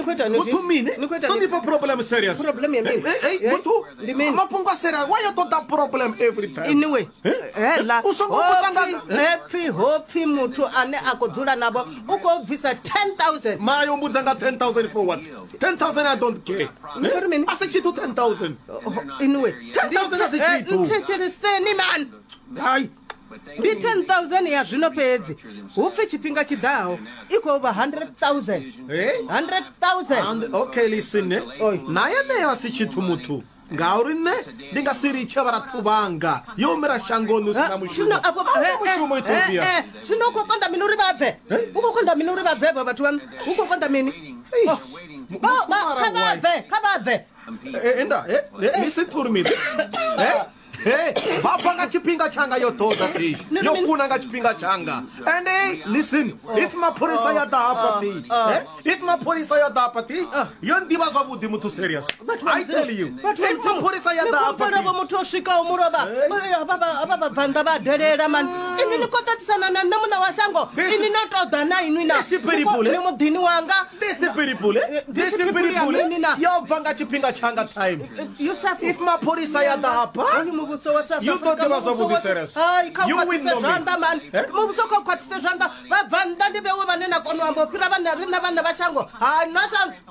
Ni khou itani Muthu zwi? mini? Ni khou itani? Don't be problem serious. Problem ya mini? Eh, eh, Eh, muthu ndi mini? Mafhungo a serious. Why you ṱoḓa problem every time? Anyway, Eh? hela U songo vhudza nga- hepfi hopfi muthu ane a khou dzula navho u khou bvisa 10000. Mara yo mbudza nga 10,000 for what? 10,000 I don't care. Ni khou ri mini? A si tshithu 10,000. Anyway, 10,000 a si tshithu. nthetsheleseni man. Hai. Ndi 10000 ya zwino fhedzi. Hu pfi tshifhinga tshiḓaho i khou vha 100000. Eh? 100000. And okay listen. eh. Oi. Na yeneyo a si tshithu muthu. Ngauri nṋe ndi nga si litshe vharathu vhanga yo humela shangoni hu si na mushumo. Zwino afho A hu na mushumo Ethiopia. Zwino u khou konḓa mini uri vha bve? U khou konḓa mini uri vha bve avho vhathu vhaṋu? Hu khou konḓa mini? Oh. Kha vha bve, kha vha bve. Eh, enda, eh, eh, listen to me. Eh? Hey, vha bva nga tshifhinga tshanga yo ṱoḓa ti yo funa nga tshifhinga tshanga and hey, listen if mapholisa ya ḓa hafha ti eh, if mapholisa ya ḓa hafha ti yo nḓivha zwavhuḓi muthu serious I tell you if mapholisa ya ḓa hafha ti vho muthu o swikaho mulovha vha vhabvannḓa vha delela mani ini ni khou ṱaṱisana na nṋe muṋe wa shango ini no ṱoḓa na inwi na ni muḓini wanga This people, this people, yo bva nga tshifhinga tshanga time. Yusuf If mapholisa ya ḓa hafha, Hoyu muvhuso wa South You ḓo Africa, ḓivha muvhuso zwavhuḓi wa- serious. Hai, kha u You will khwaṱhise know me. zwanḓa mani Eh? muvhuso kha u khwaṱhise zwanḓa vhabvannḓa ndi vhewe vhane na kona u amba u fhira vhaṋe riṋe vhaṋe vha shango hai nonsense.